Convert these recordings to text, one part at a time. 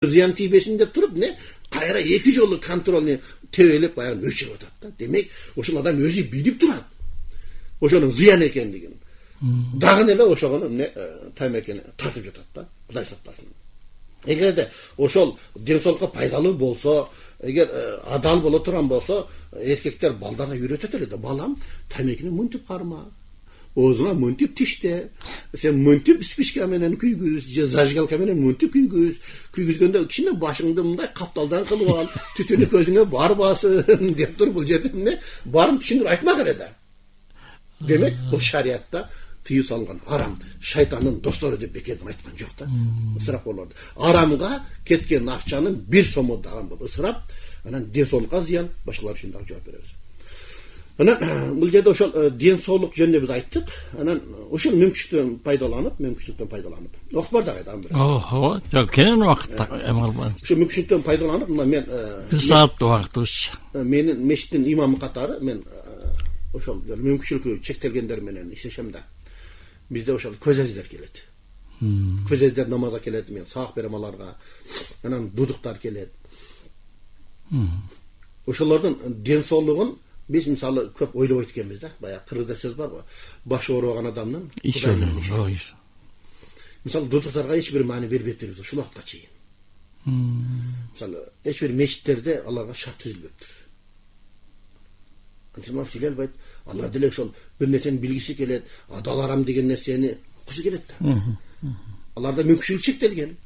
зыян тийбесин деп туруп кайра эки жолу контрольни тебелеп баягы өчүрүп атат да. Демек ошол адам өзү билип турат ошонун зыян экендигин. Дагы эле ошого тамекени тартып жатат да. Кудай сактасын. Эгерде ошол ден соолукка пайдалуу болсо, эгер адал боло турган болсо, эркектер балдарына үйрөтөт эле да. Балам, тамекини мынтип карма. Оозуңа мынтип тиште. Сен мынтип спичка менен күйгүз, же зажигалка менен мынтип күйгүз. Күйгүзгөндө кичине башыңды мындай капталдан кылып ал, түтүнү көзүңө барбасын деп туруп бул жерде баарын түшүндүрүп айтмак эле да. Демек, бул шариятта тыюу салынган арам, шайтандын достору деп бекерден айткан жок да. Ысырап болорду. Арамга кеткен акчанын 1 сому дагы бул ысырап, анан ден соолукка зыян, башкалар үчүн дагы жооп беребиз. Анан бул жерде ошол ден соолук жөнүндө биз айттык. Анан ушул мүмкүнчүлүктөн пайдаланып. Окуп бар дагы бир. Ооба, жок, кенен убакытта эмалбан. Ушул мүмкүнчүлүктөн пайдаланып, мына мен 1 сааттык убактыбыз. Менин мешиттин имамы катары мен ошол мүмкүнчүлүгү чектелгендер менен иштешем да. Бизде ошол көз аздер келет. Көз аздер намазга келет, мен сабак берем аларга. Анан дудуктар келет. Ошолордун ден соолугун биз мисалы көп ойлобойт экенбиз да. Баягы кыргызда сөз барбы? Башы оорубаган адамдын Кудай менен иши. Мисалы дудуктарга эч бир маани бербейбиз ушул убакытка чейин. Мисалы эч бир мечиттерде аларга шарт түзүлбөптүр. Антимов сүйлөй албайт. Алар деле ошол бир нерсени билгиси келет, адал арам деген нерсени уккусу келет да. Аларда мүмкүнчүлүк чектелген.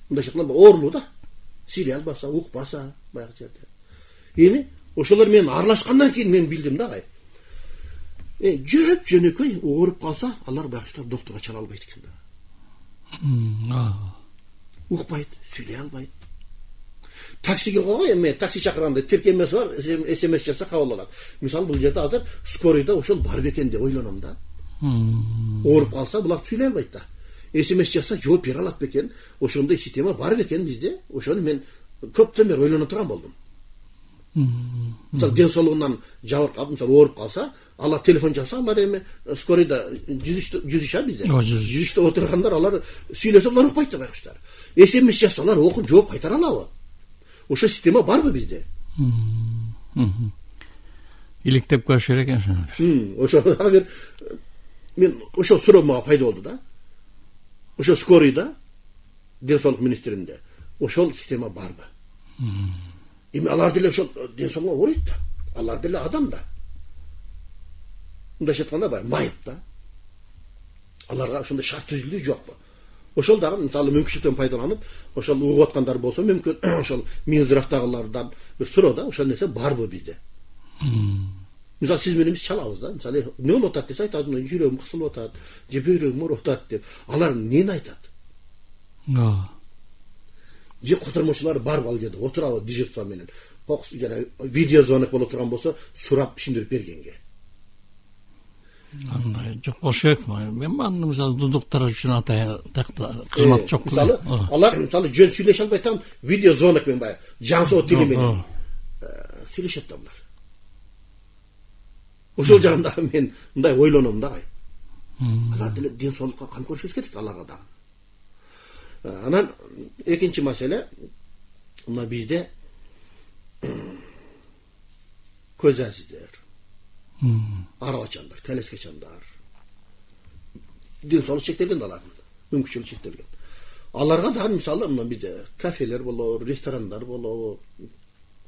Мындай шакалар оорулуу да. Сүйлөй албаса, укпаса баягы жерде. Эми ошолор менен аралашкандан кийин мен билдим да агай. Жөп жөнөкөй ооруп калса, алар баягы доктурга чала албайт экен да. Укпайт, сүйлөй албайт. Таксиге койгой, эми такси чакырганда тиркемеси бар, СМС жазса кабыл алат. Мисалы бул жерде азыр скорыйда ошол бар бекен деп ойлоном да. Ооруп калса булар сүйлөй албайт да. СМС жазса жооп бере алат бекен. Ошондой система бар бекен бизде. Ошону мен көптөн бери ойлоно турган болдум. Мисалы ден соолугунан жабыркап, мисалы ооруп калса, алар телефон чалса, алар эми скорыйда жүзүшө бизде. Жүзүштө отургандар алар сүйлөсө алар укпайт да байкуштар. СМС жазсалар окуп жооп кайтара алабы? Ошо система барбы бизде? Иликтеп көрүш керек экен. Ошо бир мен ошол суроо мага пайда болду да. Ошо скорыйда ден соолук министринде ошол система барбы? Эми алар деле ошол ден соолукка ооруйт да. Алар деле адам да. Мындайча айтканда баягы майып да. Аларга ошондой шарт түзүлдү жокпу? Ошол дагы мисалы мүмкүнчүлүктөн пайдаланып, ошол угуп аткандар болсо мүмкүн ошол Минздравдагылардан бир суроо да, ошол нерсе барбы бизде? Мисалы сиз менен биз чалабыз да. Мисалы эмне болуп атат десе айтат, жүрөгүм кысылып атат, же бөйрөгүм ооруп атат деп. Алар эмнени айтат? Же котормочулар барбы ал жерде отурабы дежурство менен? Жана видеозвонок боло турган болсо, сурап түшүндүрүп бергенге. Андай жок болуш керек. Мен аны мисалы дудуктар үчүн атайын кызмат жок. Мисалы алар мисалы жөн сүйлөшө албай турган видеозвонок менен баягы жаңсоо тили менен сүйлөшөт да булар. Ошол жагында мен мындай ойлоном да агай. Алар деле ден соолукка кам көрүшүбүз керек аларга дагы. Анан экинчи маселе мына бизде көз азиздер, арабачандар, телескечандар ден соолук чектелген да алардын, мүмкүнчүлүк чектелген. Аларга дагы мисалы мына бизде кафелер болобу, ресторандар болобу,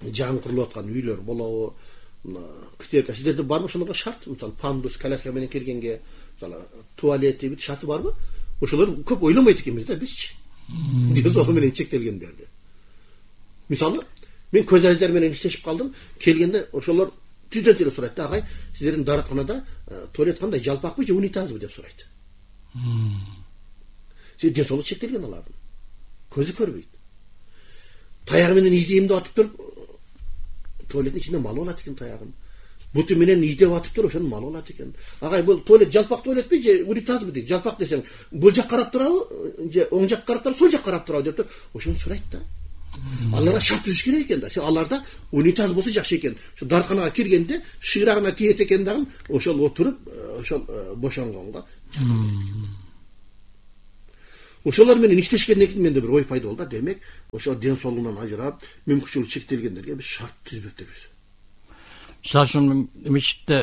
жаңы курулуп аткан үйлөр болобу, кытека сиздерде барбы ошолорго шарт? Мисалы пандус, коляска менен киргенге, мисалы туалети бит шарты барбы? Ошолор көп ойлонбойт экенбиз да бизчи. Ден соолугу менен чектелгендерди. Мисалы мен көз аздер менен иштешип калдым, келгенде ошолор түздөн эле сурайт да, агай, сиздердин дааратканада туалет кандай, жалпакпы же унитазбы деп сурайт. Ден соолугу чектелген алардын. Көзү көрбөйт. Таягы менен издейм деп атып туруп, туалеттин ичинде мал болот экен таягын. Буту менен издеп атып туруп, ошонун мал болот экен. Агай, бул туалет жалпак туалетпи же унитазбы дейт. Жалпак десең, бул жак карап турабы, же оң жак карап турабы, сол жак карап турабы деп туруп, ошону сурайт да. Аларга шарт түзүш керек экен да. Аларда унитаз болсо жакшы экен. Ошо дарканага киргенде шыйрагына тиет экен дагы, ошол отуруп, ошол бошонгонго чакырбайт. Ошолор менен иштешкенден кийин менде бир ой пайда болду. Демек, ошо ден соолугунан ажырап, мүмкүнчүлүгү чектелгендерге биз шарт түзбөктүрбүз. Мисалы үчүн мечитте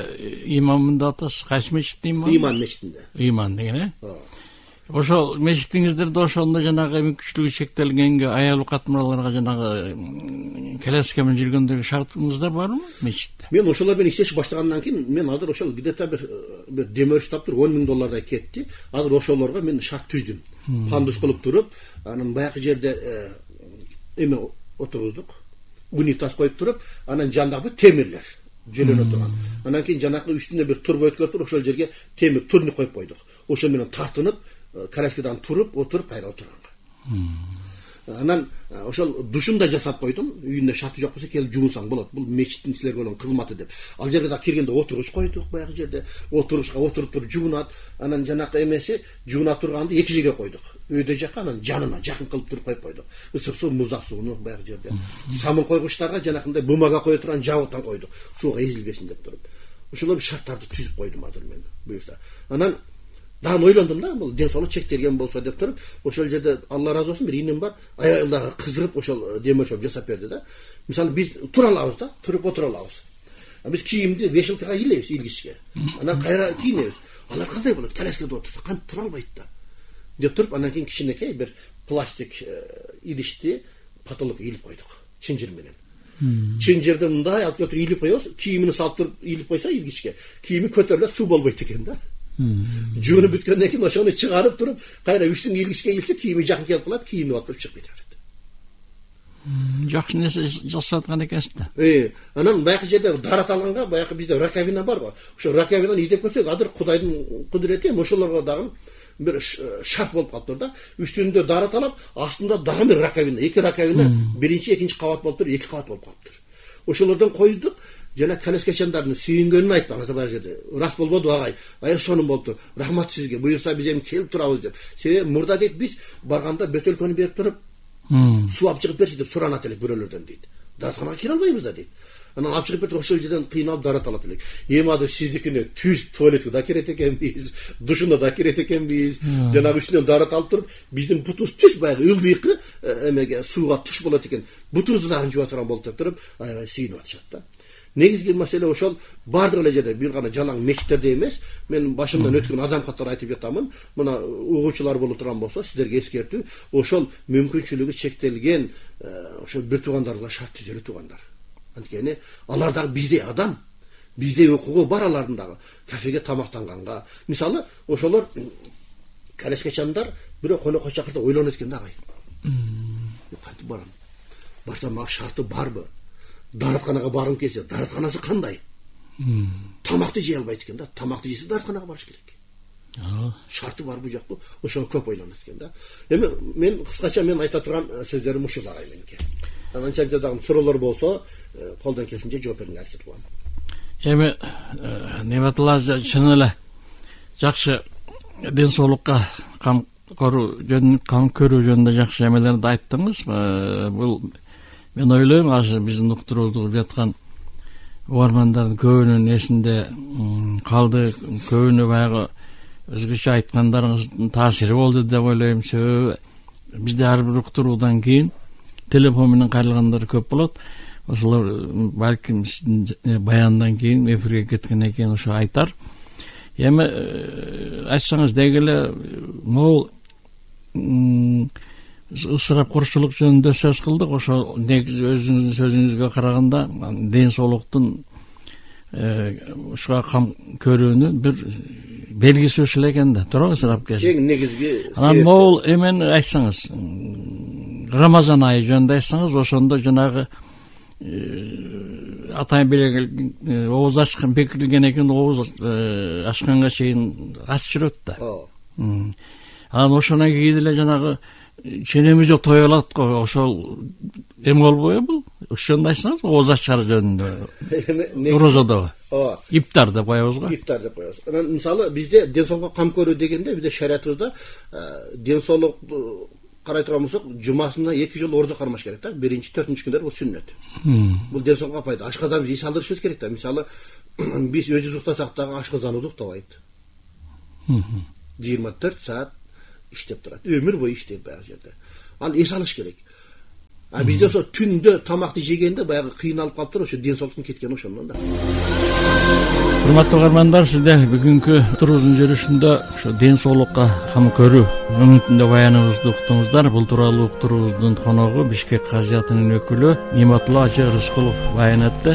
имаммын деп атасыз. Кайсы мечиттин имамы? Иман мечитинде. Иман деген, Ошол мечитиңиздерде ошондо жанагы мүмкүнчүлүгү чектелгенге, аял катмарларга жанагы келеске менен жүргөндөгү шартыңыздар барбы мечитте? Мен ошолор менен иштешип баштагандан кийин мен азыр ошол где-то бир демөш таптыр $10,000 кетти. Азыр ошолорго мен шарт түздүм. Пандус кылып туруп, анан баягы жерде эме отургуздук. Унитаз коюп туруп, анан жанагы темирлер жөлөнө турган. Анан кийин жанагы үстүнө бир турба өткөрүп туруп, ошол жерге темир турник коюп койдук. Ошол менен тартынып, коляскадан туруп, отуруп кайра отурганга. Анан ошол душун да жасап койдум. Үйүндө шарты жок болсо келип жуунсаң болот. Бул мечиттин силерге болгон кызматы деп. Ал жерге да киргенде отургуч койдук, баягы жерде отургучка отуруп туруп жуунат. Анан жанакы эмеси жууна турганды эки жерге койдук. Өйдө жакка, анан жанына жакын кылып туруп коюп койдук. Ысык суу, муздак сууну баягы жерде. Самын койгучтарга жанакындай бумага кое турган жабыктан койдук. Сууга эзилбесин деп туруп. Ошолор шарттарды түзүп койдум азыр мен буюрса. Анан дагы ойлондум да, бул ден соолук чектелген болсо деп туруп, ошол жерде Алла разы болсун, бир инем бар, аялдагы кызыгып ошол демөшөп жасап берди да. Мисалы биз тура алабыз да, туруп отура алабыз. Биз кийимди вешалкага илебиз, илгичке. Анан кайра кийинебиз. Алар кандай болот? Коляскада отурса, кантип тура албайт да. Деп туруп, анан кийин кичинекей бир пластик идишти потолокко илип койдук, чынжыр менен. Чынжырды мындай алып келип илип коебуз, кийимин салып туруп илип койсо илгичке, кийими көтөрүлөт, суу болбойт экен да. Жуунуп бүткөндөн кийин ошону чыгарып туруп, кайра үстүн илгичке илсе, кийими жакын келип калат, кийинип алып туруп чыгып кете берет. Жакшы нерсе жасап аткан экенсиз да. Анан баягы жерде дараталганга, баягы бизде раковина барбы? Ошо раковинаны издеп көрсөк, азыр Кудайдын кудурети ошолорго дагы бир шарт болуп калыптыр да. Үстүндө дараталап, астында дагы бир раковина, эки раковина, биринчи, экинчи кабат болуп туруп, эки кабат болуп калыптыр. Ошолордон койдук. Жана коляскачандардын сүйүнгөнүн айтпаңыз баягы жерде. Рас болбоду агай. Сонун болуптур. Рахмат сизге. Буюрса биз эми келип турабыз деп. Себеби мурда дейт биз барганда бөтөлкөнү берип туруп, суу алып чыгып берчи деп суранат элек бирөөлөрдөн дейт. Даратханага кире албайбыз да дейт. Анан алып чыгып берип ошол жерден кыйналып дарат алат элек. Эми азыр сиздикине түз туалетке да кирет экенбиз, душуна да кирет экенбиз. Жанагы үстүнөн дарат алып туруп, биздин бутубуз түз баягы ылдыйкы эмеге сууга туш болот экен. Бутубузду дагы жууа турган болуп туруп, аябай сүйүнүп атышат да. Негизги маселе ошол бардык эле жерде, бир гана жалаң мечиттерде эмес. Мен башымдан өткөн адам катары айтып жатамын. Мына угуучулар боло турган болсо, сиздерге эскертүү, ошол мүмкүнчүлүгү чектелген ошол бир туугандарга шарт түзөлүү туугандар. Анткени алар дагы биздей адам, биздей укугу бар алардын дагы. Кафеге тамактанганга, мисалы, ошолор коляскачандар бирөө конокко чакырса ойлонот экен да агай. Кантип барам? Башта мага шарты барбы? Даратканага баргым келсе, даратканасы кандай? Тамакты жей албайт экен да. Тамакты жесе даратканага барыш керек. Шарты барбы жокпу? Ошого көп ойлонот экен да. Эми мен кыскача мен айта турган сөздөрүм ушул агай меники. Анан чакта дагы суроолор болсо, колдон келишинче жооп берүүгө аракет кылам. Эми небатылар чын эле жакшы ден соолукка кам көрүү жөнүндө жакшы эмелерди айттыңыз. Бул мен ойлойм, азыр биздин уктурууда угуп жаткан угармандардын көбүнүн эсинде калды, көбүнө баягы өзгөчө айткандарыңыздын таасири болду деп ойлойм. Себеби бизде ар бир уктуруудан кийин телефон менен кайрылгандар көп болот. Ошолор балким сиздин баяндан кийин эфирге кеткенден кийин ошо айтар. Эми айтсаңыз деги эле могул ысырапкорчулук жөнүндө сөз кылдык. Ошо негизи өзүңүздүн сөзүңүзгө караганда ден соолуктун ушуга кам көрүүнүн бир белгиси ушул экен да, туурабы ысырап кези? Эң негизги анан могул эмени айтсаңыз, Рамазан айы жөнүндө айтсаңыз, ошондо жанагы атай беле ооз ачкан бекитилген экен, ооз ачканга чейин ачып жүрөт да. Анан ошондон кийин эле жанагы ченемиз жок той алат го, ошол эме болбойбу бул? Ошондо айтсаңыз, ооз ачар жөнүндө. Розодогу. Иптар деп коебуз го. Иптар деп коебуз. Анан мисалы бизде ден соолукка кам көрүү дегенде бизде шариятыбызда ден соолукту карай турган болсок, жумасына 2 жолу ордо кармаш керек да. 1-4 күндөр бул сүннөт. Бул ден соолукка пайда. Ашказаныбызды эс алдырышыбыз керек да. Мисалы биз өзүбүз уктасак дагы ашказан уктабайт. 24 саат иштеп турат. Өмүр бою иштейт баягы жерде. Ал эс алыш керек. А бизде ошо түндө тамакты жегенде баягы кыйналып калыптыр, ошо ден соолуктун кеткени ошондон да. Урматтуу угармандар, сиздер бүгүнкү турубуздун жүрүшүндө ошо ден соолукка кам көрүү үмүтүндө баяныбызды уктуңуздар. Бул тууралуу уктуруубуздун коногу Бишкек казиятынын өкүлү Ниматулла Ажы Рыскулов баян этти.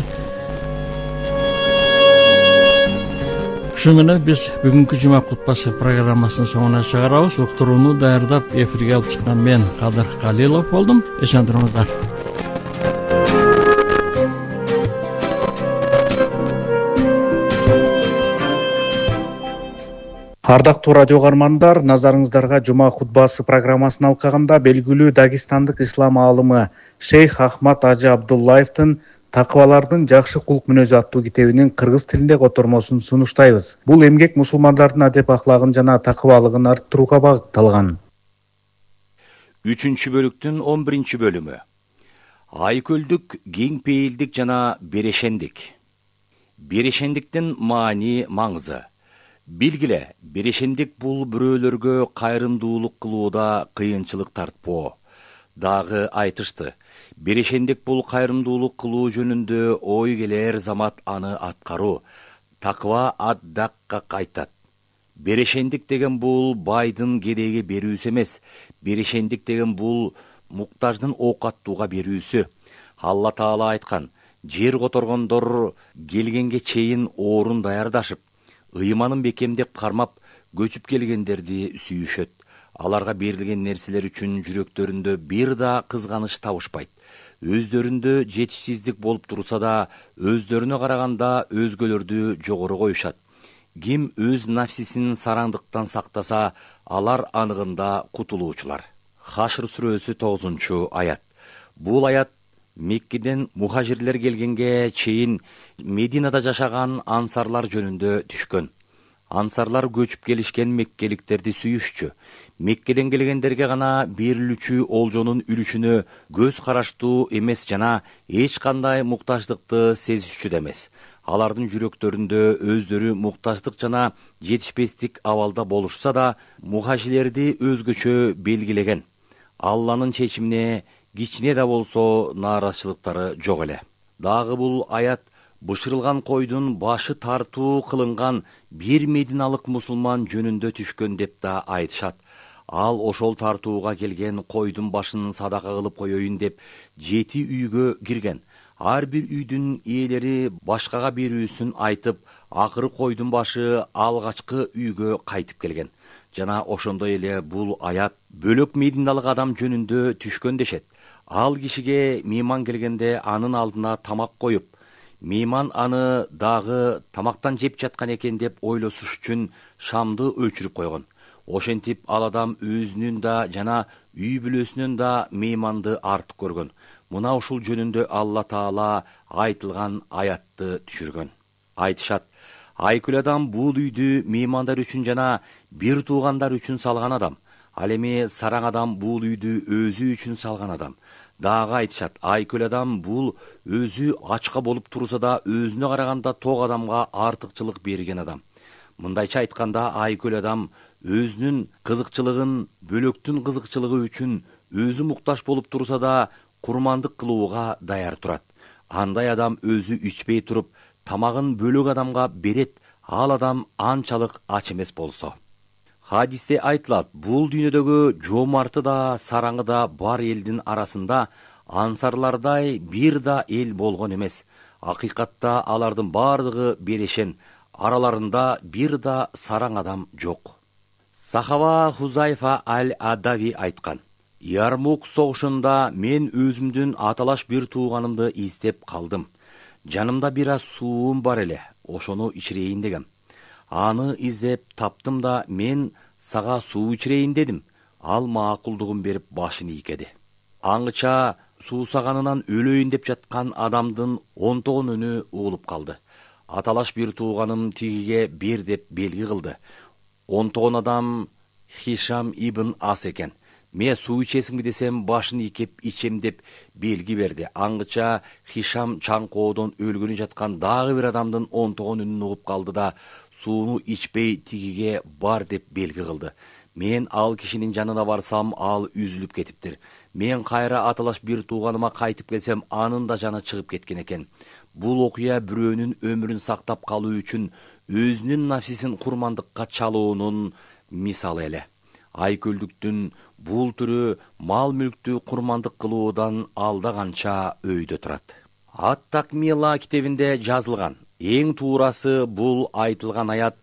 Ушу менен биз бүгүнкү жума кутбасы программасынын соңуна чыгарабыз. Уктурууну даярдап эфирге алып чыккан мен Кадыр Калилов болдум. Эсен туруңуздар. Ардактуу радио угармандар, назарыңыздарга жума кутбасы программасын алкаганда белгилүү дагестандык ислам аалымы Шейх Ахмад Ажы Абдуллаевдин Такыбалардын жакшы кулк мүнөзү аттуу китебинин кыргыз тилинде котормосун сунуштайбыз. Бул эмгек мусулмандардын адеп аклагын жана такыбалыгын арттырууга багытталган. 3-бөлүктүн 11-бөлүмү. Айкөлдүк, кең пейилдик жана берешендик. Берешендиктин маани, маңызы. Билгиле, берешендик бул бирөөлөргө кайрымдуулук кылууда кыйынчылык тартпоо. Дагы айтышты. Берешендик бул кайрымдуулук кылуу жөнүндө ой келер замат аны аткаруу. Таква ад-дакка кайтат. Берешендик деген бул байдын кереги берүүсү эмес. Берешендик деген бул муктаждын оокаттууга берүүсү. Алла Таала айткан: жер которгондор келгенге чейин орун даярдашып, ыйманын бекемдеп кармап, көчүп келгендерди сүйүшөт. Аларга берилген нерселер үчүн жүрөктөрүндө бир да кызганыч табышпайт. Өздөрүндө жетишсиздик болуп турса да, өздөрүнө караганда өзгөлөрдү жогору коюшат. Ким өз нафсисин сараңдыктан сактаса, алар аныгында кутулуучулар. Хашр сүрөсү 9-аят. Бул аят Меккеден мухажирлер келгенге чейин Мединада жашаган ансарлар жөнүндө түшкөн. Ансарлар көчүп келишкен меккеликтерди сүйүшчү. Меккеден келгендерге гана берилүүчү олжонун үлүшүнө көз караштуу эмес жана эч кандай муктаждыкты сезишчү да эмес. Алардын жүрөктөрүндө өздөрү муктаждык жана жетишпестик абалда болушса да, мухажирлерди өзгөчө белгилеген. Алланын чечимине кичине да болсо нааразычылыктары жок эле. Дагы бул аят бышырылган койдун башы тартуу кылынган бир мединалык мусулман жөнүндө түшкөн деп да айтышат. Ал ошол тартууга келген койдун башын садака кылып коеюн деп 7 үйгө кирген. Ар бир үйдүн ээлери башкага берүүсүн айтып, акыры койдун башы алгачкы үйгө кайтып келген. Жана ошондой эле бул аят бөлөк мединалык адам жөнүндө түшкөн дешет. Ал кишиге мейман келгенде анын алдына тамак коюп, мейман аны дагы тамактан жеп жаткан экен деп ойлосуш үчүн шамды өчүрүп койгон. Ошентип ал адам өзүнүн да жана үй бүлөсүнүн да мейманды артык көргөн. Мына ушул жөнүндө Алла Таала айтылган аятты түшүргөн. Айтышат: айкөл адам бул үйдү меймандар үчүн жана бир туугандар үчүн салган адам. Ал эми сараң адам бул үйдү өзү үчүн салган адам. Дагы айтышат: айкөл адам бул өзү ачка болуп турса да өзүнө караганда ток адамга артыкчылык берген адам. Мындайча айтканда, айкөл адам өзүнүн кызыкчылыгын бөлөктүн кызыкчылыгы үчүн өзү муктаж болуп турса да курмандык кылууга даяр турат. Андай адам өзү ичпей туруп тамагын бөлөк адамга берет, ал адам анчалык ач эмес болсо. Хадисте айтылат: бул дүйнөдөгү жомарты да сараңы да бар элдин арасында ансарлардай бир да эл болгон эмес. Акыйкатта алардын бардыгы берешен, араларында бир да сараң адам жок. Сахаба Хузайфа аль-Адави айткан: Ярмук согушунда мен өзүмдүн аталаш бир тууганымды издеп калдым. Жанымда бир аз суум бар эле, ошону ичирейин дегем. Аны издеп таптым да мен сага суу ичирейин дедим. Ал макулдугун берип башын ийкеди. Аңыча суусаганынан өлөйүн деп жаткан адамдын 10 үнү угулуп калды. Аталаш бир тууганым тигиге бер деп белги кылды. 10 адам Хишам ибн Ас экен. Мен суу ичесиңби десем, башын ийкеп ичем деп белги берди. Аңыча Хишам чаңкоодон өлгөнү жаткан дагы бир адамдын 10 үнүн угуп калды да сууну ичпей тигиге бар деп белги кылды. Мен ал кишинин жанына барсам, ал үзүлүп кетиптир. Мен кайра аталаш бир тууганыма кайтып келсем, анын да жаны чыгып кеткен экен. Бул окуя бирөөнүн өмүрүн сактап калуу үчүн өзүнүн нафсисин курмандыкка чалуунун мисалы эле. Айкөлдүктүн бул түрү мал мүлктү курмандык кылуудан алда канча өйдө турат. Ат-Такмила китебинде жазылган. Эң туурасы бул айтылган аят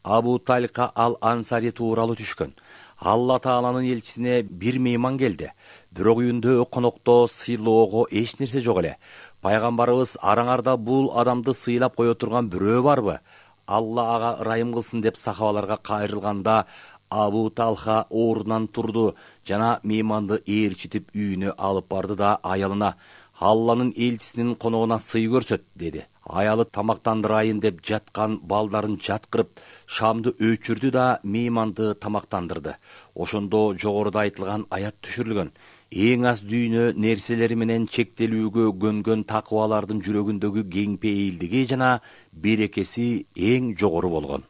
Абу Талха ал-Ансари тууралуу түшкөн. Алла Тааланын элчисине бир мейман келди. Бирок үйүндө конокто сыйлоого эч нерсе жок эле. Пайгамбарыбыз: араңарда бул адамды сыйлап кое турган бирөө барбы? Алла ага ырайым кылсын деп сахабаларга кайрылганда, Абу Талха ордунан турду жана мейманды ээрчитип үйүнө алып барды да аялына: Алланын элчисинин коногуна сый көрсөт, деди. Аялы тамактандырайын деп жаткан балдарын жаткырып, шамды өчүрдү да мейманды тамактандырды. Ошондо жогоруда айтылган аят түшүрүлгөн. Эң аз дүйнө нерселери менен чектелүүгө көнгөн такыбалардын жүрөгүндөгү кеңпейилдиги жана берекеси эң жогору болгон.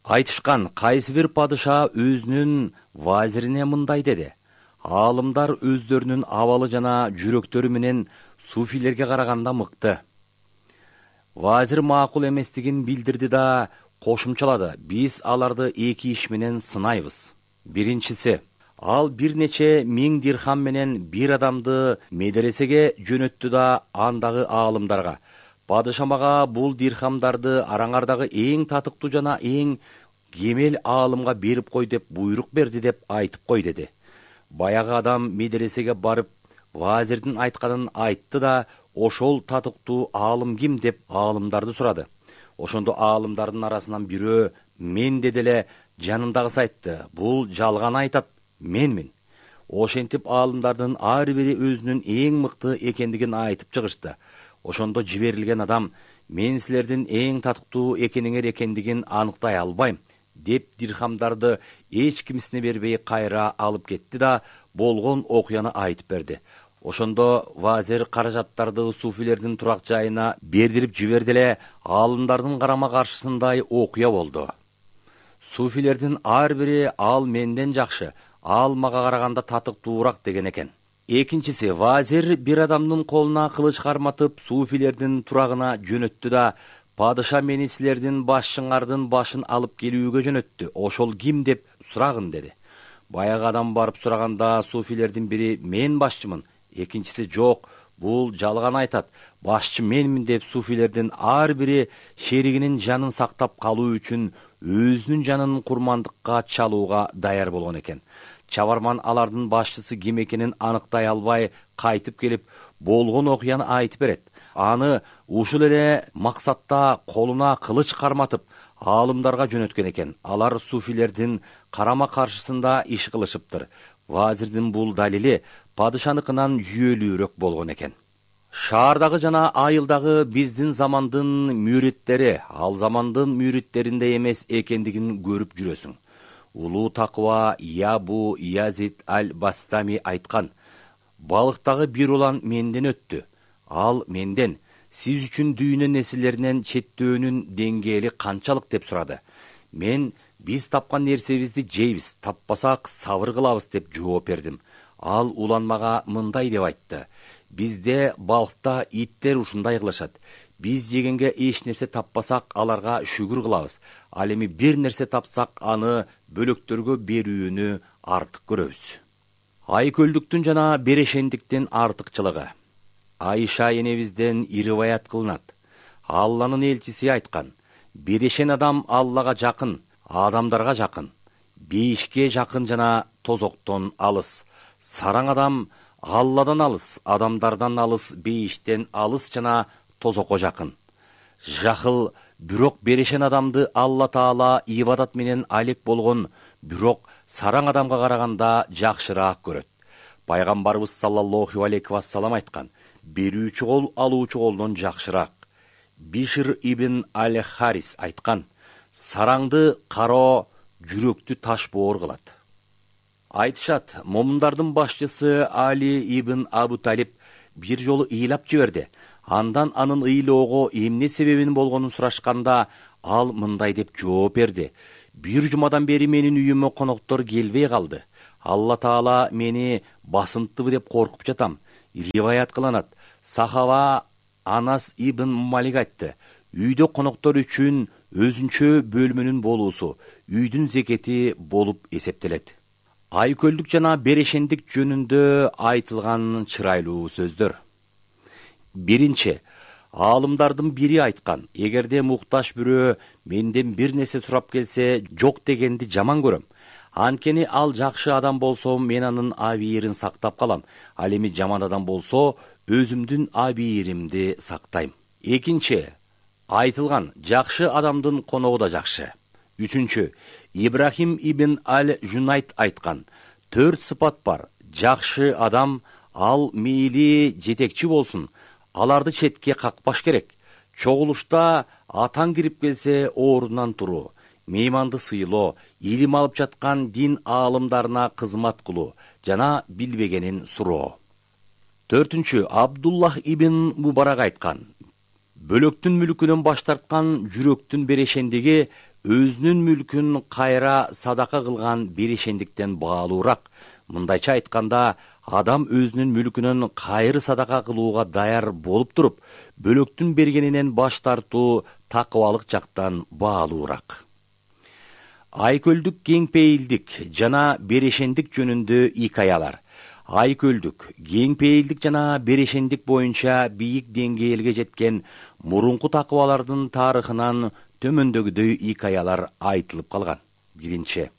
Айтышкан, кайсы бир падыша өзүнүн вазирине мындай деди: Аалымдар өздөрүнүн абалы жана жүрөктөрү менен суфилерге караганда мыкты. Вазир макул эместигин билдирди да кошумчалады: биз аларды эки иш менен сынайбыз. Биринчиси, ал бир нече миң дирхам менен бир адамды медресеге жөнөттү да андагы аалымдарга: падыша мага бул дирхамдарды араңардагы эң татыктуу жана эң кемел аалымга берип кой деп буйрук берди деп айтып кой, деди. Баягы адам медресеге барып вазирдин айтканын айтты да, ошол татыктуу аалым ким деп аалымдарды сурады. Ошондо аалымдардын арасынан бирөө мен деди эле, жанындагысы айтты: бул жалган айтат, менмин. Ошентип аалымдардын ар бири өзүнүн эң мыкты экендигин айтып чыгышты. Ошондо жиберилген адам: мен силердин эң татыктуу экениңер экендигин аныктай албайм, деп дирхамдарды эч кимисине бербей кайра алып кетти да болгон окуяны айтып берди. Ошондо вазир каражаттарды суфилердин турак жайына бердирип жиберди эле, аалымдардын карама каршысындай окуя болду. Суфилердин ар бири: ал менден жакшы, ал мага караганда татыктуураак деген экен. Экинчиси, вазир бир адамдын колуна кылыч карматып суфилердин турагына жөнөттү да: падыша мени силердин башчыңардын башын алып келүүгө жөнөттү, ошол ким деп сурагын, деди. Баягы адам барып сураганда суфилердин бири: мен башчымын. Экинчиси: жок, бул жалган айтат, башчы менмин деп суфилердин ар бири шеригинин жанын сактап калуу үчүн өзүнүн жанын курмандыкка чалууга даяр болгон экен. Чабарман алардын башчысы ким экенин аныктай албай кайтып келип болгон окуяны айтып берет. Аны ушул эле максатта колуна кылыч карматып аалымдарга жөнөткөн экен. Алар суфилердин карама каршысында иш кылышыптыр. Вазирдин бул далили падышаныкынан жүйөлүүрөөк болгон экен. Шаардагы жана айылдагы биздин замандын мүриттери ал замандын мүриттеринде эмес экендигин көрүп жүрөсүң. Улуу такыба Ябу Язид аль-Бастами айткан: балыктагы бир улан менден өттү. Ал менден: сиз үчүн дүйнө нерселеринен четтөөнүн деңгээли канчалык деп сурады. Мен: биз тапкан нерсебизди жейбиз, таппасак сабыр кылабыз деп жооп бердим. Ал улан мага мындай деп айтты: бизде балыкта иттер ушундай кылышат. Биз жегенге эч нерсе таппасак аларга шүгүр кылабыз. Ал эми бир нерсе тапсак аны бөлөктөргө берүүнү артык көрөбүз. Айкөлдүктүн жана берешендиктин артыкчылыгы. Айша энебизден риваят кылынат. Алланын элчиси айткан: берешен адам Аллага жакын, адамдарга жакын, бейишке жакын жана тозоктон алыс. Сараң адам Алладан алыс, адамдардан алыс, бейиштен алыс жана тозокко жакын. Жахыл, бирок берешен адамды Алла Таала ибадат менен алек болгон, бирок сараң адамга караганда жакшыраак көрөт. Пайгамбарыбыз саллаллаху алейхи вассалам айткан: берүүчү кол алуучу колдон жакшыраак. Бишир ибн аль-Харис айткан: сараңды кароо жүрөктү таш боор кылат. Айтышат, момундардын башчысы Али ибн Абу Талиб бир жолу ыйлап жиберди. Андан анын ыйлоого эмне себебин болгонун сурашканда, ал мындай деп жооп берди: бир жумадан бери менин үйүмө коноктор келбей калды. Алла Таала мени басынттыбы деп коркуп жатам. Риваят кылынат. Сахаба Анас ибн Малик айтты: үйдө коноктор үчүн өзүнчө бөлмөнүн болуусу үйдүн зекети болуп эсептелет. Айкөлдүк жана берешендик жөнүндө айтылган чырайлуу сөздөр. Биринчи, аалымдардын бири айткан: эгерде муктаж бирөө менден бир нерсе сурап келсе, жок дегенди жаман көрөм. Анткени ал жакшы адам болсо, мен анын абийирин сактап калам. Ал эми жаман адам болсо, өзүмдүн абийиримди сактайм. Экинчи, айтылган: жакшы адамдын коногу да жакшы. Үчүнчү, Ибрахим ибн Аль-Жунайт айткан: 4 сыпат бар. Жакшы адам, ал мейли жетекчи болсун, аларды четке какпаш керек. Чогулушта атаң кирип келсе, ордунан туруу, мейманды сыйлоо, илим алып жаткан дин аалымдарына кызмат кылуу жана билбегенин суроо. 4-чү, Абдуллах ибн Мубарак айткан: бөлөктүн мүлкүнөн баш тарткан жүрөктүн берешендиги өзүнүн мүлкүн кайра садака кылган берешендиктен баалуураак. Мындайча айтканда, адам өзүнүн мүлкүнөн кайры садака кылууга даяр болуп туруп, бөлөктүн бергенинен баш тартуу такыбалык жактан баалуураак. Айкөлдүк, кеңпейилдик жана берешендик жөнүндө икаялар. Айкөлдүк, кеңпейилдик жана берешендик боюнча бийик деңгээлге жеткен мурунку такыбалардын тарыхынан төмөндөгүдөй икаялар айтылып калган. Биринчи,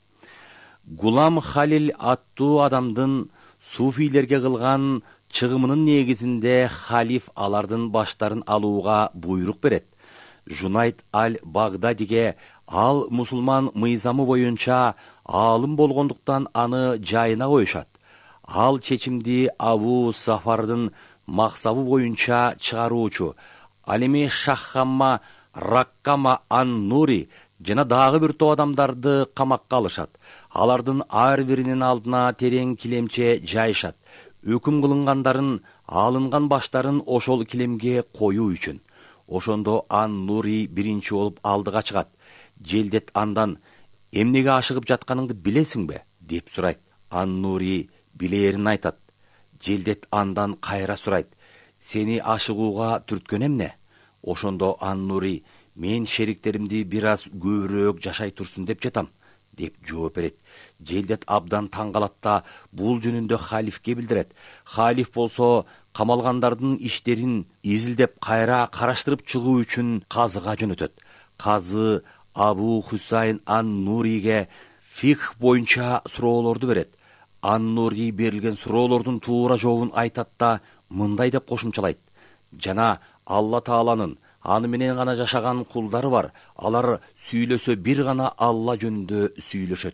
Гулам Халил аттуу адамдын суфийлерге кылган чыгымынын негизинде халиф алардын баштарын алууга буйрук берет. Жунайт аль-Багдадиге ал мусулман мыйзамы боюнча аалым болгондуктан аны жайына коюшат. Ал чечимди Абу Сафардын максабы боюнча чыгаруучу, ал эми Шаххамма Раккама ан-Нури жана дагы бир топ адамдарды камакка алышат. Алардын ар биринин алдына терең килемче жайышат. Өкүм кылынгандарын, алынган баштарын ошол килемге коюу үчүн. Ошондо ан-Нури биринчи болуп алдыга чыгат. Желдет андан: эмнеге ашыгып жатканыңды билесиңби? деп сурайт. Ан-Нури билээрин айтат. Желдет андан кайра сурайт: сени ашыгууга түрткөн эмне? Ошондо ан-Нури: мен шериктеримди бир аз көбүрөөк жашай турсун деп жатам, деп жооп берет. Желдет абдан таң калат да бул жөнүндө халифке билдирет. Халиф болсо камалгандардын иштерин изилдеп кайра караштырып чыгуу үчүн казыга жөнөтөт. Казы Абу Хусайн ан-Нуриге фикх боюнча суроолорду берет. Ан-Нури берилген суроолордун туура жообун айтат да мындай деп кошумчалайт: жана Алла Тааланын аны менен гана жашаган кулдары бар. Алар сүйлөсө бир гана Алла жөнүндө сүйлөшөт.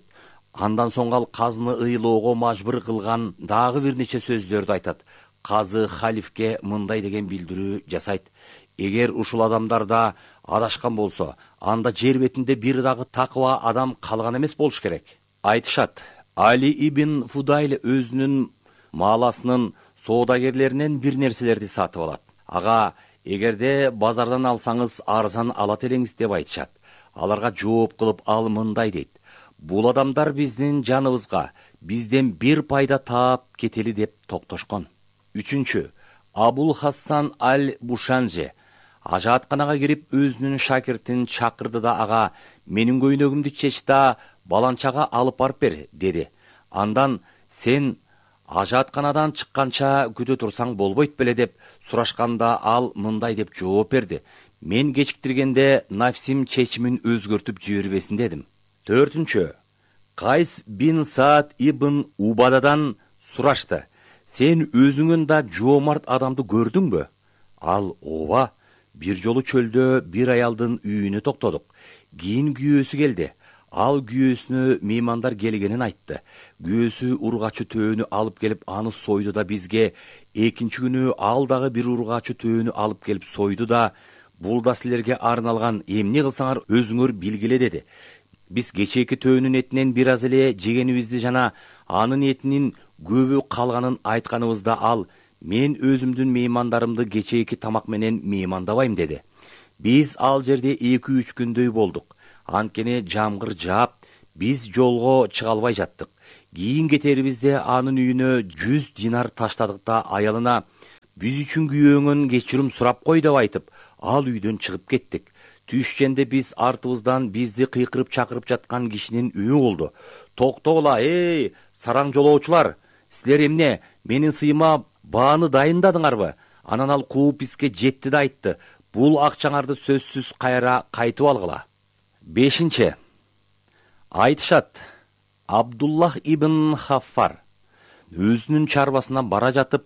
Андан соң ал казыны ыйлоого мажбур кылган дагы бир нече сөздөрдү айтат. Казы халифке мындай деген билдирүү жасайт: эгер ушул адамдарда адашкан болсо, анда жер бетинде бир дагы такыба адам калган эмес болуш керек. Айтышат, Али ибн Фудайль өзүнүн мааласынын соодагерлеринен бир нерселерди сатып алат. Ага, эгерде базардан алсаңыз арзан алат элеңиз деп айтышат. Аларга жооп кылып ал мындай дейт: бул адамдар биздин жаныбызга бизден бир пайда таап кетели деп токтошкон. 3-чү, Абул Хасан аль-Бушанжи ажаатканага кирип өзүнүн шакиртин чакырды да ага: менин көйнөгүмдү чеч да баланчага алып барып бер, деди. Андан: сен ажаатканадан чыкканча күтө турсаң болбойт беле деп сурашканда ал мындай деп жооп берди: мен кечиктиргенде нафсим чечимин өзгөртүп жибербесин дедим. 4-чү, Кайс бин Саад ибн Убададан сурашты: сен өзүңөн да жоомарт адамды көрдүңбү? Ал: ооба, бир жолу чөлдө бир аялдын үйүнө токтодук. Кийин күйөөсү келди. Ал күйөөсүнө меймандар келгенин айтты. Күйөөсү ургачы төөнү алып келип аны сойду да бизге. Экинчи күнү ал дагы бир ургачы төөнү алып келип сойду да: бул да силерге арналган, эмне кылсаңар өзүңөр билгиле, деди. Биз кечээки төөнүн этинен бир аз эле жегенибизди жана анын этинин көбү калганын айтканыбызда ал: мен өзүмдүн меймандарымды кечээки тамак менен меймандабайм, деди. Биз ал жерде 2-3 күндөй болдук. Анткени жамгыр жаап, биз жолго чыга албай жаттык. Кийин кетерибизде анын үйүнө 100 динар таштадык да аялына биз үчүн күйөөңөн кечирим сурап кой деп айтып, ал үйдөн чыгып кеттик. Түшкенде биз артыбыздан бизди кыйкырып чакырып жаткан кишинин үйү болду. Токтогула, сараң жолоочулар, силер эмне менин сыйыма бааны дайындадыңарбы? Анан ал кууп бизге жетти да айтты, бул акчаңарды сөзсүз кайра кайтып алгыла. 5. Айтышат, Абдуллах ибн Хаффар өзүнүн чарбасына бара жатып,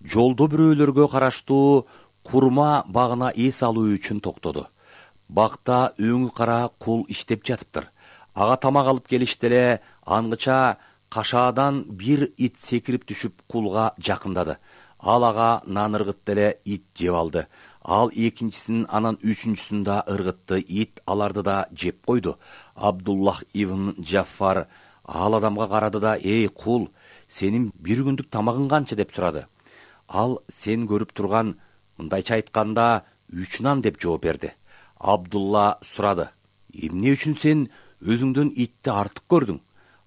жолдо бирөөлөргө караштуу курма багына эс алуу үчүн токтоду. Бакта өңү кара кул иштеп жатыптыр. Ага тамак алып келишти эле, ангыча кашаадан бир ит секирип түшүп кулга жакындады. Ал ага нан ыргытты эле, ит жеп алды. Ал экинчисин, анан үчүнчүсүн да ыргытты, ит аларды да жеп койду. Абдуллах ибн Джаффар ал адамга карады да, кул, сенин бир күндүк тамагың канча деп сурады. Ал сен көрүп турган, мындайча айтканда, 3 нан деп жооп берди. Абдулла сурады, эмне үчүн сен өзүңдөн итти артык көрдүң?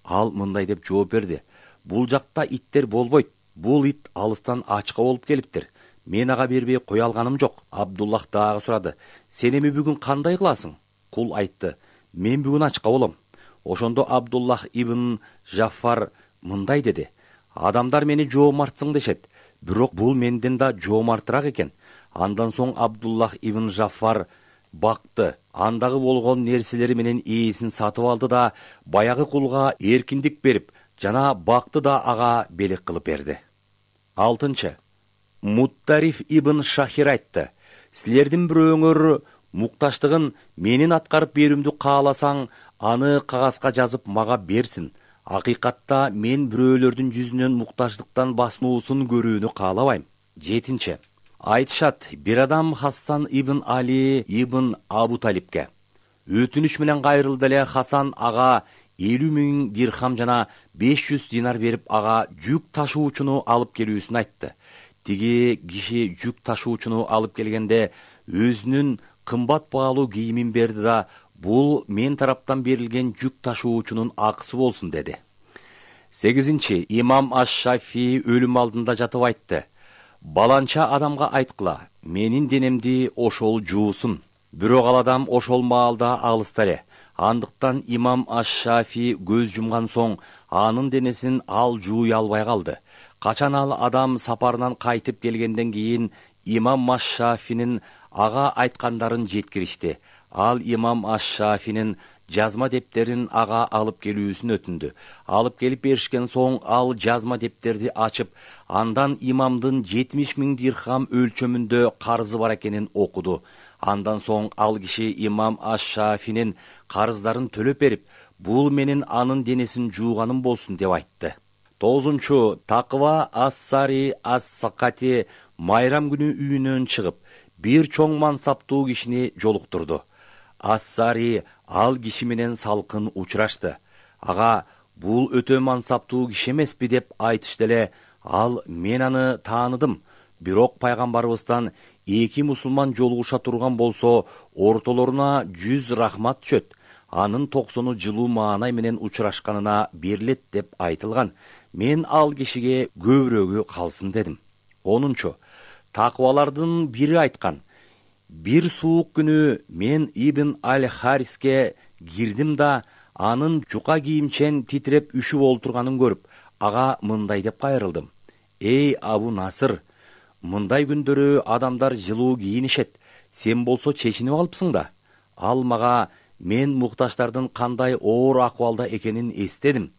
Ал мындай деп жооп берди, бул жакта иттер болбойт, бул ит алыстан ачка болуп келиптир. Мен ага бербей кое алганым жок. Абдуллах дагы сурады, сен эми бүгүн кандай кыласың? Кул айтты, мен бүгүн ачка болом. Ошондо Абдуллах ибн Жаффар мындай деди, адамдар мени жоомартсың дешет, бирок бул менден да жоомартыраак экен. Андан соң Абдуллах ибн Жаффар бакты, андагы болгон нерселери менен ээсин сатып алды да, баягы кулга эркиндик берип, жана бакты да ага белек кылып берди. 6. Муттариф ибн Шахир айтты, силердин бирөөңөр мукташтыгын менин аткарып берүүмдү кааласаң, аны кагазга жазып мага берсин. Акыйкатта мен бирөөлөрдүн жүзүнөн мукташтыктан басынуусун көрүүнү каалабайм. 7. Айтышат, бир адам Хасан ибн Али ибн Абу Талибке өтүнүч менен кайрылды эле. Хасан ага 50 000 дирхам жана 500 динар берип, ага жүк ташуучуну алып келүүсүн айтты. Тиги киши жүк ташуучуну алып келгенде өзүнүн кымбат баалуу кийимин берди да, бул мен тараптан берилген жүк ташуучунун акысы болсун деди. 8. Имам Аш-Шафи өлүм алдында жатып айтты, баланча адамга айткыла, менин денемди ошол жуусун. Бирок ал адам ошол маалда алыста эле. Андыктан имам Аш-Шафи көз жумган соң анын денесин ал жууй албай калды. Качан ал адам сапарынан кайтып келгенден кийин имам Аш-Шафинин ага айткандарын жеткиришти. Ал имам Аш-Шафинин жазма дептерин ага алып келүүсүн өтүндү. Алып келип беришкен соң ал жазма дептерди ачып, андан имамдын 70 000 дирхам өлчөмүндө карызы бар экенин окуду. Андан соң ал киши имам Аш-Шафинин карыздарын төлөп берип, бул менин анын денесин жууганым болсун деп айтты. 9. Таква Ас-Сари Ас-Сакати майрам күнү үйүнөн чыгып, бир чоң мансаптуу кишини жолуктурду. Ас-Сари ал киши менен салкын учурашты. Ага, бул өтө мансаптуу киши эмеспи деп айтышты эле. Ал, мен аны тааныдым. Бирок пайгамбарыбыздан 2 мусулман жолугуша турган болсо, ортолоруна 100 рахмат түшөт. Анын 90-ы жылуу маанай менен учурашканына берилет деп айтылган. Мен ал кишиге көбүрөгү калсын дедим. 10. Таквалардын бири айткан, бир суук күнү мен Ибн Аль-Хариске кирдим да, анын жука кийимчен титиреп үшүп олтурганын көрүп, ага мындай деп кайрылдым. Эй Абу Насыр, мындай күндөрү адамдар жылуу кийинишет, сен болсо чечинип алыпсың да. Ал мага мен мукташтардын кандай оор акыбалда экенин эстедим.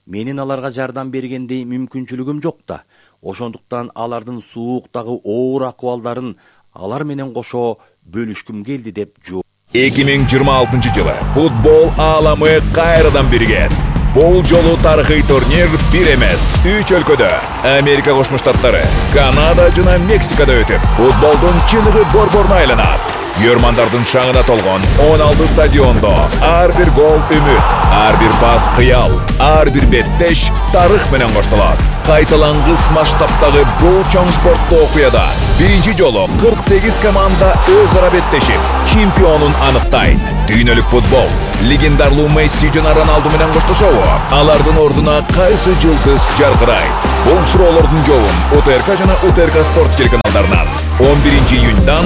Менин аларга жардам бергендей мүмкүнчүлүгүм жок да. Ошондуктан алардын сууктагы оор акыбалдарын алар менен кошо бөлүшкүм келди деп жооп. 2026 жылы футбол ааламы кайрадан биригет. Бул жолу тарыхый турнир бир эмес, 3 өлкөдө, Америка Кошмо Штаттары, Канада жана Мексикада өтүп, футболдун чыныгы борборуна айланат. Күйөрмандардын шаңына толгон 16 стадиондо ар бир гол үмүт, ар бир пас кыял, ар бир беттеш тарых менен коштолот. Кайталангыс масштабтагы бул чоң спорттук окуяда биринчи жолу 48 команда өз ара беттешип, чемпионун аныктайт. Дүйнөлүк футбол легендарлуу Месси жана Роналду менен коштошобу? Алардын ордуна кайсы жылдыз жаркырайт? Бул суроолордун жообун УТРК жана УТРК спорт телеканалдарынан 11 июньдан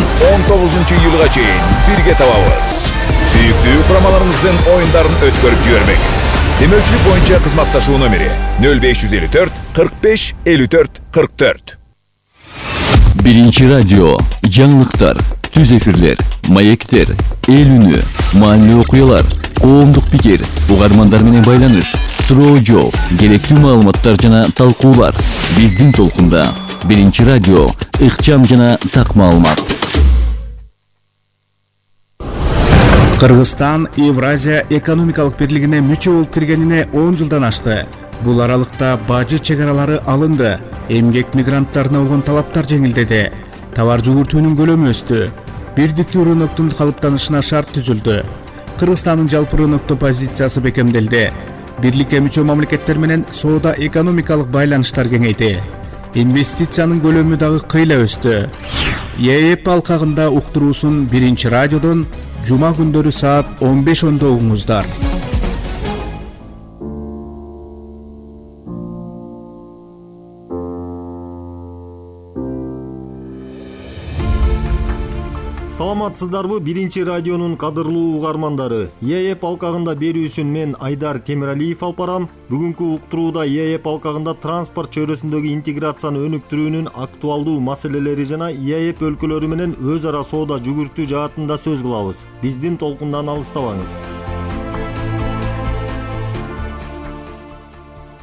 19 июлга чейин бирге табабыз. Сүйүктүү курамаларыңыздын оюндарын өткөрүп жибербеңиз. Демөчүлүк боюнча кызматташуу номери 0554 45 54 44. Биринчи радио, жаңылыктар, түз эфирлер, маектер, эл үнү, маанилүү окуялар, коомдук пикир, угармандар менен байланыш, суроо жооп, керектүү маалыматтар жана талкуулар. Биздин толкунда Биринчи радио, ыкчам жана так маалымат. Кыргызстан Евразия экономикалык бирлигине мүчө болуп киргенине 10 жылдан ашты. Бул аралыкта бажы чегаралары алынды, эмгек мигранттарына болгон талаптар жеңилдеди, товар жүгүртүүнүн көлөмү өстү, бирдиктүү рыноктун калыптанышына шарт түзүлдү. Кыргызстандын жалпы рынокто позициясы бекемделди. Бирликке мүчө мамлекеттер менен соода экономикалык байланыштар кеңейди. Инвестициянын көлөмү дагы кыйла өстү. ЕЭП алкагында уктуруусун Биринчи радиодон жума күндөрү саат 15:10 угуңуздар. Саламатсыздарбы Биринчи радионун кадырлуу угармандары. ЕЭП алкагында берүүсүн мен Айдар Темиралиев алып барам. Бүгүнкү уктурууда ЕЭП алкагында транспорт чөйрөсүндөгү интеграцияны өнүктүрүүнүн актуалдуу маселелери жана ЕЭП өлкөлөрү менен өз ара соода жүгүртүү жаатында сөз кылабыз. Биздин толкундан алыстабаңыз.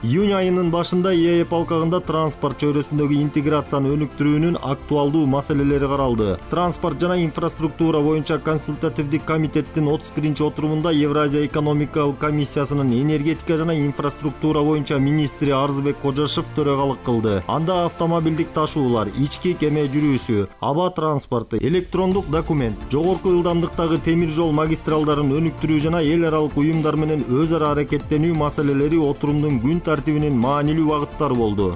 Июнь айынын башында ЕЭП алкагында транспорт чөйрөсүндөгү интеграцияны өнүктүрүүнүн актуалдуу маселелери каралды. Транспорт жана инфраструктура боюнча консультативдик комитеттин 31 отурумунда Евразия экономикалык комиссиясынын энергетика жана инфраструктура боюнча министри Арзыбек Кожошев төрагалык кылды. Анда автомобилдик ташуулар, ички кеме жүрүүсү, аба транспорту, электрондук документ, жогорку ылдамдыктагы темир жол магистралдарын өнүктүрүү жана эл аралык уюмдар менен өз ара аракеттенүү маселелери отурумдун күн тартибинин маанилүү багыттары болду.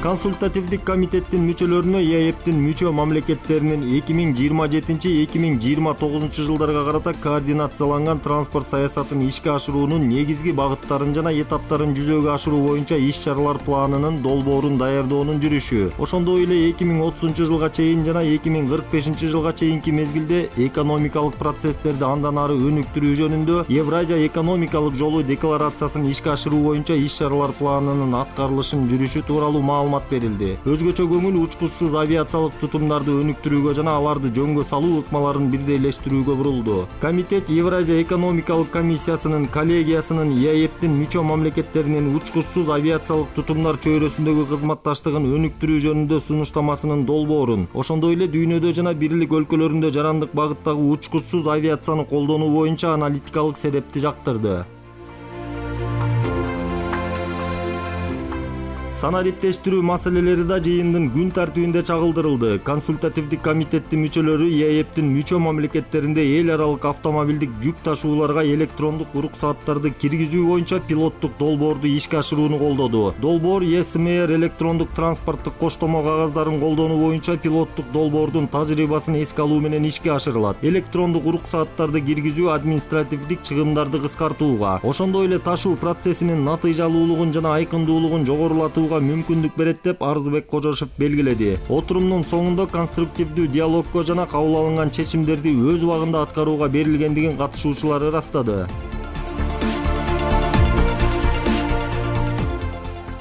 Консультативдик комитеттин мүчөлөрүнө ЕЭПтин мүчө мамлекеттеринин 2027-2029 жылдарга карата координацияланган транспорт саясатын ишке ашыруунун негизги багыттарын жана этаптарын жүзөгө ашыруу боюнча иш-чаралар планынын долбоорун даярдоонун жүрүшү. Ошондой эле 2030 жылга чейин жана 2045 жылга чейинки мезгилде экономикалык процесстерди андан ары өнүктүрүү жөнүндө Евразия экономикалык жолу декларациясын ишке ашыруу боюнча иш-чаралар планынын аткарылышын жүрүшү тууралуу маалымат берилди. Өзгөчө көңүл учкучсуз авиациялык тутумдарды өнүктүрүүгө жана аларды жөнгө салуу ыкмаларын бирдейлештирүүгө бурулду. Комитет Евразия экономикалык комиссиясынын коллегиясынын ЕЭПтин мүчө мамлекеттеринин учкучсуз авиациялык тутумдар чөйрөсүндөгү кызматташтыгын өнүктүрүү жөнүндө сунуштамасынын долбоорун, ошондой эле дүйнөдө жана бирлик өлкөлөрүндө жарандык багыттагы учкучсуз авиацияны колдонуу боюнча аналитикалык серепти жактырды. Санариптештирүү маселелери да жыйындын күн тартибинде чагылдырылды. Консультативдик комитеттин мүчөлөрү ЕЭПтин мүчө мамлекеттеринде эл аралык автомобилдик жүк ташууларга электрондук уруксааттарды киргизүү боюнча пилоттук долбоорду ишке ашырууну колдоду. Долбоор ЕСМР электрондук транспорттук коштомо кагаздарын колдонуу боюнча пилоттук долбоордун тажрыйбасын эске алуу менен ишке ашырылат. Электрондук уруксааттарды киргизүү административдик чыгымдарды кыскартууга, ошондой эле ташуу процессинин натыйжалуулугун жана айкындуулугун жогорулатууга мүмкүндүк берет деп Арзыбек Кожошев белгиледи. Отурумдун соңунда конструктивдүү диалогго жана кабыл алынган чечимдерди өз убагында аткарууга берилгендигин катышуучулар ырастады.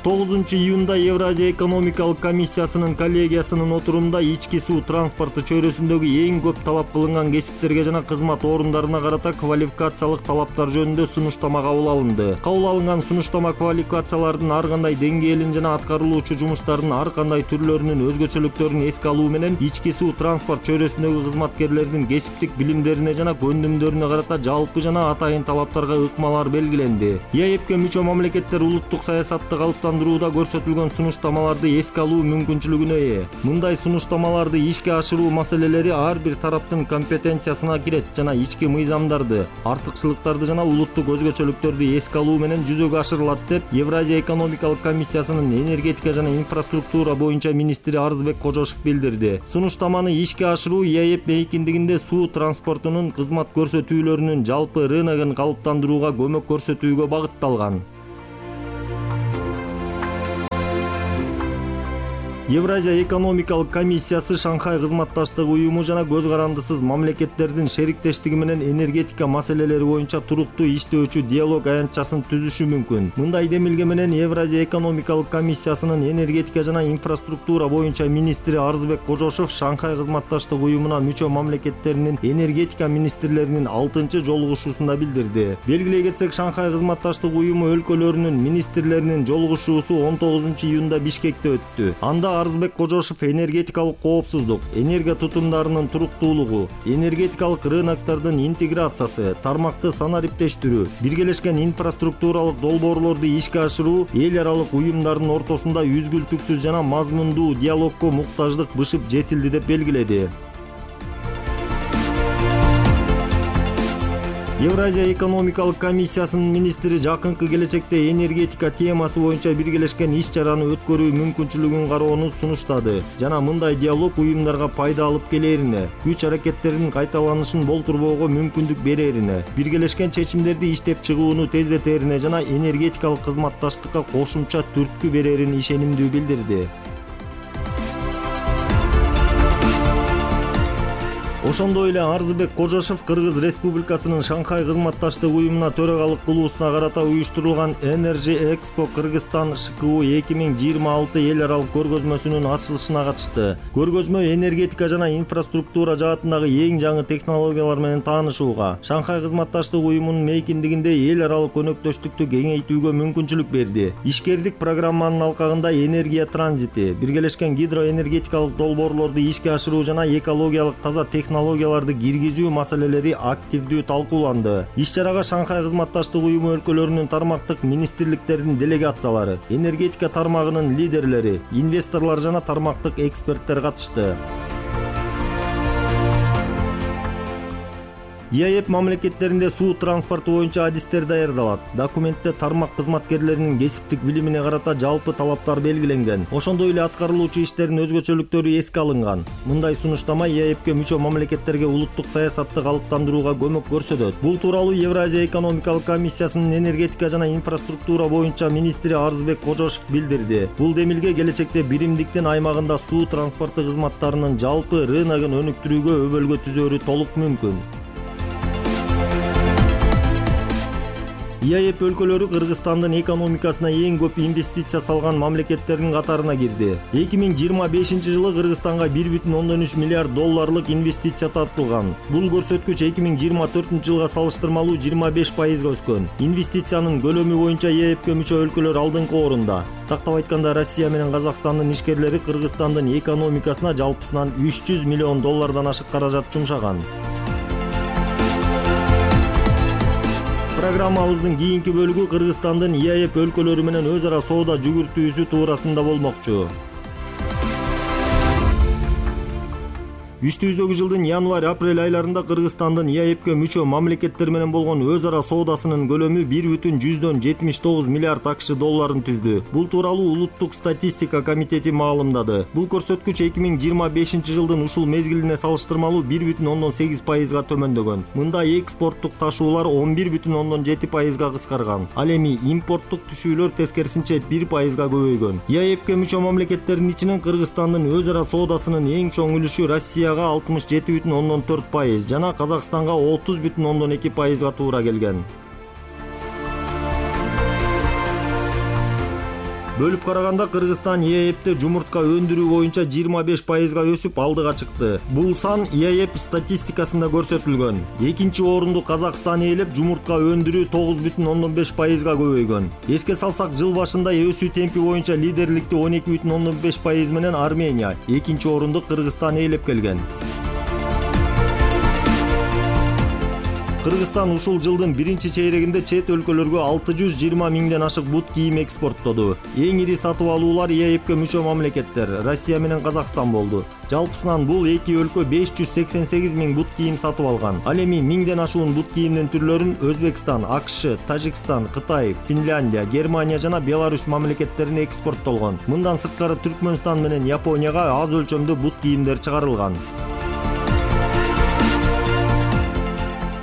9 июнда Евразия экономикалык комиссиясынын коллегиясынын отурумунда ички суу транспорту чөйрөсүндөгү эң көп талап кылынган кесиптерге жана кызмат орундарына карата квалификациялык талаптар жөнүндө сунуштама кабыл алынды. Кабыл алынган сунуштама квалификациялардын ар кандай деңгээлин жана аткарылуучу жумуштардын ар кандай түрлөрүнүн өзгөчөлүктөрүн эске алуу менен ички суу транспорт чөйрөсүндөгү кызматкерлердин кесиптик билимдерине жана көндүмдөрүнө карата жалпы жана атайын талаптарга ыкмалар белгиленди. ЕЭПке мүчө мамлекеттер улуттук саясатты калыптандыруу калыптандырууда көрсөтүлгөн сунуштамаларды эске алуу мүмкүнчүлүгүнө ээ. Мындай сунуштамаларды ишке ашыруу маселелери ар бир тараптын компетенциясына кирет жана ички мыйзамдарды, артыкчылыктарды жана улуттук өзгөчөлүктөрдү эске алуу менен жүзөгө ашырылат деп Евразия экономикалык комиссиясынын энергетика жана инфраструктура боюнча министри Арызбек Кожошов билдирди. Сунуштаманы ишке ашыруу ЕАЭП мейкиндигинде суу транспортунун кызмат көрсөтүүлөрүнүн жалпы рыногун калыптандырууга көмөк көрсөтүүгө багытталган. Евразия экономикалык комиссиясы Шанхай кызматташтык уюму жана көз карандысыз мамлекеттердин шериктештиги менен энергетика маселелери боюнча туруктуу иштөөчү диалог аянтчасын түзүшү мүмкүн. Мындай демилге менен Евразия экономикалык комиссиясынын энергетика жана инфраструктура боюнча министри Арызбек Кожошов Шанхай кызматташтык уюмуна мүчө мамлекеттеринин энергетика министрлеринин 6-чы жолугушуусунда билдирди. Белгилей кетсек, Шанхай кызматташтык уюму өлкөлөрүнүн министрлеринин жолугушуусу 19-июнда Бишкекте өттү. Анда Арызбек Кожошов энергетикалык коопсуздук, энергия тутумдарынын туруктуулугу, энергетикалык рыноктордун интеграциясы, тармакты санариптештирүү, биргелешкен инфраструктуралык долбоорлорду ишке ашыруу, эл аралык уюмдардын ортосунда үзгүлтүксүз жана мазмундуу диалогко муктаждык бышып жетилди деп белгиледи. Евразия экономикалык комиссиясынын министри жакынкы келечекте энергетика темасы боюнча биргелешкен иш-чараны өткөрүү мүмкүнчүлүгүн кароону сунуштады жана мындай диалог уюмдарга пайда алып келерине, күч аракеттеринин кайталанышын болтурбоого мүмкүндүк берерине, биргелешкен чечимдерди иштеп чыгууну тездетерине жана энергетикалык кызматташтыкка кошумча түрткү берерин ишенимдүү билдирди. Ошондой эле Арызбек Кожошов Кыргыз Республикасынын Шанхай кызматташтык уюмуна төрагалык кылуусуна карата уюштурулган Energy Expo Кыргызстан ШКУ 2026 эл аралык көргөзмөсүнүн ачылышына катышты. Көргөзмө энергетика жана инфраструктура жаатындагы эң жаңы технологиялар менен таанышууга, Шанхай кызматташтык уюмунун мейкиндигинде эл аралык өнөктөштүктү кеңейтүүгө мүмкүнчүлүк берди. Ишкердик программанын алкагында энергия транзити, биргелешкен гидроэнергетикалык долбоорлорду ишке ашыруу жана экологиялык таза технологияларды киргизүү маселелери активдүү талкууланды. Иш-чарага Шанхай кызматташтык уюму өлкөлөрүнүн тармактык министрликтердин делегациялары, энергетика тармагынын лидерлери, инвесторлор жана тармактык эксперттер катышты. ЕАЭП мамлекеттеринде суу транспорту боюнча адистер даярдалат. Документте тармак кызматкерлеринин кесиптик билимине карата жалпы талаптар белгиленген. Ошондой эле аткарылуучу иштердин өзгөчөлүктөрү эске алынган. Мындай сунуштама ЕАЭПке мүчө мамлекеттерге улуттук саясатты калыптандырууга көмөк көрсөтөт. Бул тууралуу Евразия экономикалык комиссиясынын энергетика жана инфраструктура боюнча министри Арызбек Кожошов билдирди. Бул демилге келечекте биримдиктин аймагында суу транспорту кызматтарынын жалпы рыногун өнүктүрүүгө өбөлгө түзөөрү толук мүмкүн. ЕАЭП өлкөлөрү Кыргызстандын экономикасына эң көп инвестиция салган мамлекеттердин катарына кирди. 2025 жылы Кыргызстанга 1,3 миллиард долларлык инвестиция тартылган. Бул көрсөткүч 2024 жылга салыштырмалуу 25% өскөн. Инвестициянын көлөмү боюнча ЕАЭПке мүчө өлкөлөр алдыңкы орунда. Тактап айтканда Россия менен Казакстандын ишкерлери Кыргызстандын экономикасына жалпысынан 300 миллион доллардан ашык каражат жумшаган. Программабыздын кийинки бөлүгү Кыргызстандын ЕАЭП өлкөлөрү менен өз ара соода жүгүртүүсү туурасында болмокчу. Үстүбүздөгү жылдын январь-апрель айларында Кыргызстандын ЕАЭПке мүчө мамлекеттер менен болгон өз ара соодасынын көлөмү 1,79 миллиард АКШ долларын түздү. Бул тууралуу Улуттук статистика комитети маалымдады. Бул көрсөткүч 2025 жылдын ушул мезгилине салыштырмалуу 1,8%га төмөндөгөн. Мында экспорттук ташуулар 11,7%га кыскарган. Ал эми импорттук түшүүлөр тескерисинче 1%га көбөйгөн. ЕАЭПке мүчө мамлекеттердин ичинен Кыргызстандын өз ара соодасынын эң чоң үлүшү Россия 67,4% жана Казакстанга 30,2%га туура келген. Бөлүп караганда Кыргызстан ЕАЭПте жумуртка өндүрүү боюнча 25%га өсүп алдыга чыкты. Бул сан ЕАЭП статистикасында көрсөтүлгөн. Экинчи орунду Казакстан ээлеп, жумуртка өндүрүү 9,5%га көбөйгөн. Эске салсак, жыл башында өсүү темпи боюнча лидерликти 12,5% менен Армения, экинчи орунду Кыргызстан ээлеп келген. Кыргызстан ушул жылдын биринчи чейрегинде чет өлкөлөргө 620 миңден ашык бут кийим экспорттоду. Эң ири сатып алуулар ЕАЭПке мүчө мамлекеттер Россия менен Казакстан болду. Жалпысынан бул эки өлкө 588 миң бут кийим сатып алган. Ал эми миңден ашуун бут кийимдин түрлөрүн Өзбекстан, АКШ, Тажикстан, Кытай, Финляндия, Германия жана Беларусь мамлекеттерине экспорттолгон. Мындан сырткары Түркмөнстан менен Японияга аз өлчөмдө бут кийимдер чыгарылган.